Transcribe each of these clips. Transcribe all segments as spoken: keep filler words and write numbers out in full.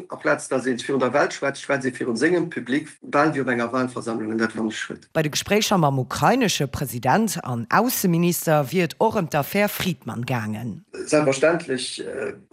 Aplaz datt ee virun der Welt schwätzt, schwätzt ee virun sengem Public, bal wéi op enger Walversammlung, an dat fannen ech schued. Bei de Gespréicher mam ukrainesche President an Ausseminister wier et och ëm d'Affär Fridman gaangen. Selbstverständlech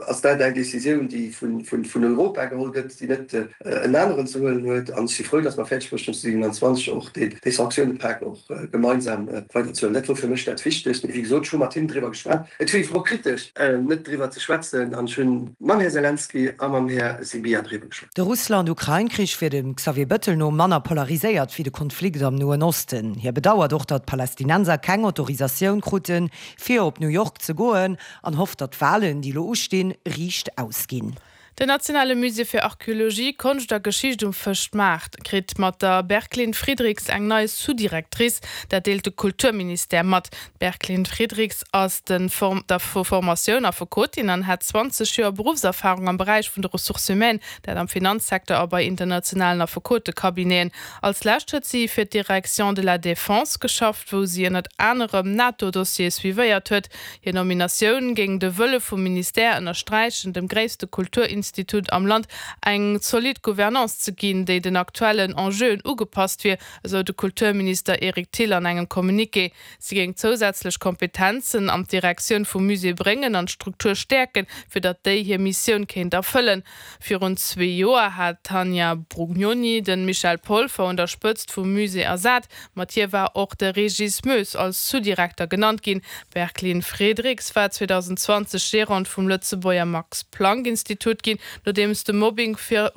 ass dat eng Decisioun, déi vun Europa geholl gëtt, déi net en aneren ze huelen huet. An ech si frou, datt mer fäerdeg bruecht hunn, zweedausendsiwenanzwanzeg och dee Sanktiounenpak och gemeinsam weiderzehuelen. Dat wor fir mech dat Wichtegst. Mee wéi gesot, ech hu mat him driwwer geschwat. Et wier hypokritesch, net driwwer ze schwätzen. An ech hunn mam Här Selenskyj a mam Här Sybiha driwwer geschwat. De Russland-Ukrain-Krich wier dem Xavier Bettel no manner polariséiert wéi de Konflikt am Noen Osten. Hie bedauert och, datt d'Palästinenser keng Autorisatioun kruten, fir op New York ze goen, an hofft, datt d'Walen, déi elo ustinn, riicht ausginn. Den nationale Musée fir Archeologie, Konscht a Geschicht um Fëschmaart kritt mat der Berclyn Friedrichs eng nei Sous-Directrice, dat deelt de Kulturministère mat. D'Berclyn Friedrichs ass de der vu Formatioun Affekotin an hat zwanzeg Joer Beruffserfarung am Beräich vun de Ressources humaines, dat am Finanzsecteur a bei internationalen Affekotecabineten. Als lescht huet si fir d'Direction de la Défense geschafft, wou si ënnert anerem NATO-Dossiere suivéiert huet. Hir Nominatioun géing de Wëlle vum Ministère ënnersträichen, dem gréisste Kulturinstitut am Land eng zolidd Gouvernance ze ginn, déi den aktuellen Enjeuen ugepasst wier, esou de Kulturminister Eric Thill an engem Communiqué. Si géing zousätzlech Kompetenzen an d'Direktioun vum Musée bréngen an d'Struktur stäerken, fir datt déi hir Missioun kéint erfëllen. Virun zwee Joer hat d'Tanja Brugnoni de Michel Polfer un der Spëtzt vum Musée ersat. Mat hir war och de Régis Moes als Sous-Direkter genannt ginn. D'Berclyn Friedrichs war zweedausendzwanzeg Gerante vum Lëtzebuerger Max-Planck-Institut ginn, nodeems de Mobbing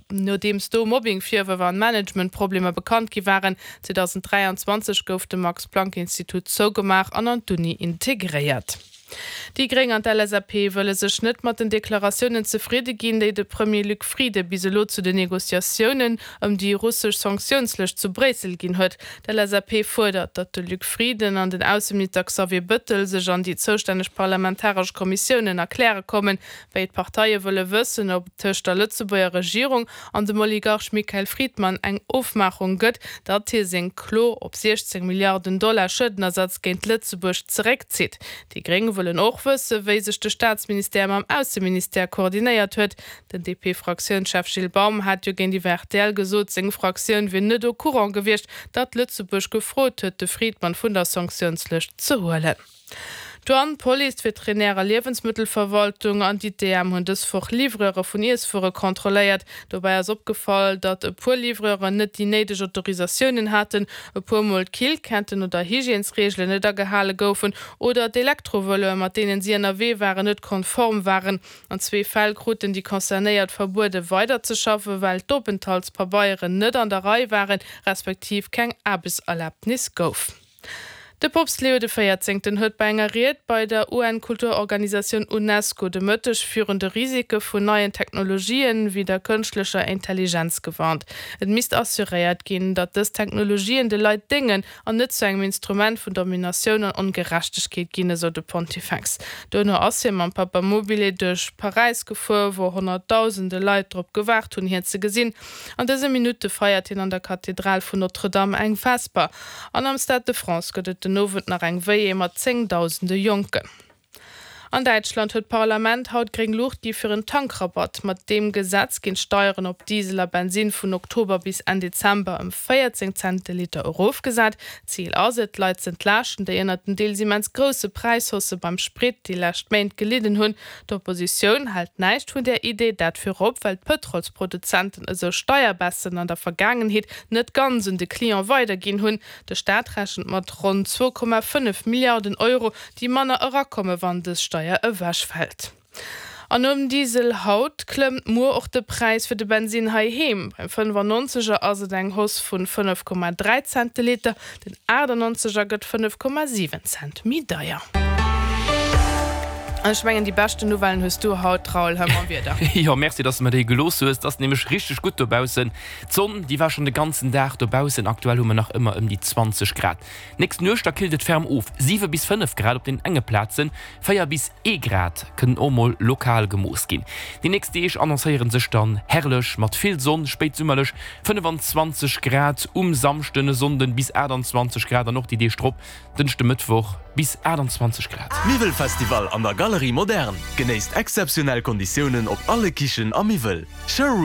nodeems do Mobbing-Virwërf an Managementproblemer bekannt gi waren. zweedausenddräianzwanzeg gouf de Max-Planck-Institut zougemaach an an d'Uni integréiert. Déi Gréng an d'L S A P wëlle sech net mat den Deklaratiounen zefridde ginn, déi de Premier Luc Frieden bis elo zu den Negociatiounen ëm déi russesch Sanktiounslëscht zu Bréissel ginn huet. D'L S A P fuerdert, datt de Luc Frieden an den Ausseminister Xavier Bettel sech an déi zoustänneg parlamentaresch Kommissiounen erkläre kommen. Béid Parteie wëlle wëssen, ob et tëscht der Lëtzebuerger Regierung an dem Oligarch Michael Fridman eng Ofmaachung gëtt, datt hie seng Klo op siechzéng Milliarden Dollar Schuedenersatz géint Lëtzebuerg zeréckzitt. Déi Gréng wëllen och wëssen, wéi sech de Staatsministère mam Ausseministère koordinéiert huet. Den D P-Fraktiounschef Gilles Baum hat jo géintiwwer R T L gesot, seng Fraktioun wier net au courant gewiescht, datt Lëtzebuerg gefrot huet, de Fridman vun der Sanktiounslëscht ze huelen. D'Douane, d'Police, d'Veterinär a Liewensmëttelverwaltung an d'I T M hunn dës Woch Livreure vun Iesswuere kontrolléiert. Dobäi ass opgefall, datt e puer Livreuren net déi néideg Autorisatiounen haten, e puer Mol d'Killketten oder Hygiènesreegelen net agehale goufen oder d'Elektrovëloe, mat deenen si ënnerwee waren, net konform waren. An zwee Fäll kruten déi Concernéiert verbuede weiderzeschaffen, well d'Openthaltspabeieren net an der Rei waren, respektiv keng Aarbechtserlabnis gouf. De Poopst Leo de Véierzéngten huet bei enger Ried bei der U N-Kulturorganisatioun UNESCO de Mëtteg virun de Risike vun neien Technologien wéi der kënschtlecher Intelligenz gewarnt. Et misst assuréiert ginn, datt dës Technologien de Leit déngen an net zu engem Instrument vun Dominatioun an Ongerechtegkeet ginn, esou de Pontifex. Duerno ass hie mam Papamobile duerch Paräis gefuer, wou honnertdausende Leit drop gewaart hunn, hien ze gesinn. An dëse Minutte feiert hien an der Kathedral vun Notre-Dame eng Vesper. An am Stade de France gëtt et den Owend nach eng Veillée mat zéngdausende Jonken. An Däitschland huet d'Parlament haut gréng Luucht gi fir en Tankrabatt. Mat deem Gesetz ginn d'Steieren op Diesel a Bensin vun Oktober bis Enn Dezember ëm véierzéng Cent de Liter erofgesat. Zil ass et, d'Leit z'entlaaschten, déi ënnert den deels immens grousse Präishaussë beim Sprit déi lescht Méint gelidden hunn. D'Oppositioun hält näischt vun där Idee, dat virop, well d'Pëtrolsproduzenten esou Steierbaissen an der Vergaangenheet net ganz un de Client weiderginn hunn. De Staat rechent mat ronn zwou Komma fënnef Milliarden Euro, déi manner erakommen, wann dës Steier ewechfält. An nom Diesel haut klëmmt muer och de Präis fir de Bensin heiheem. Beim fënnefannonzeger ass et eng Hausse vun fënnef Komma dräi Cent de Liter, den aachtannonzeger gëtt fënnef Komma siwen Cent méi deier. Ech mengen déi beschten Nouvellen hues du haut, Raoul, hei mam Wieder. Jo, merci, dass de mer déi gelooss hues. Et ass nämlech richteg gutt dobaussen. D'Sonn, déi war schonn de ganzen Dag dobaussen. Aktuell hu mer nach ëmmer ëm déi zwanzeg Grad. Nächst Nuecht da killt et ferm of, siwe bis fënnef Grad op den enge Plazen, véier bis ee Grad kënnen och mol lokal gemooss ginn. Déi nächst Deeg annoncéiere sech dann herrlech mat vill Sonn, spéitsummerlech fënnefenzwanzeg Grad um Samschden, e Sonnden bis achttanzwanzeg Grad an och déi Deeg drop, Dënschde, Mëttwoch, bis achttanzwanzeg Grad. Miwwelfestival an der Galerie. Galerie Moderne. Genéisst exzeptionell Konditiounen op alle Kichen a Miwwel. Showroom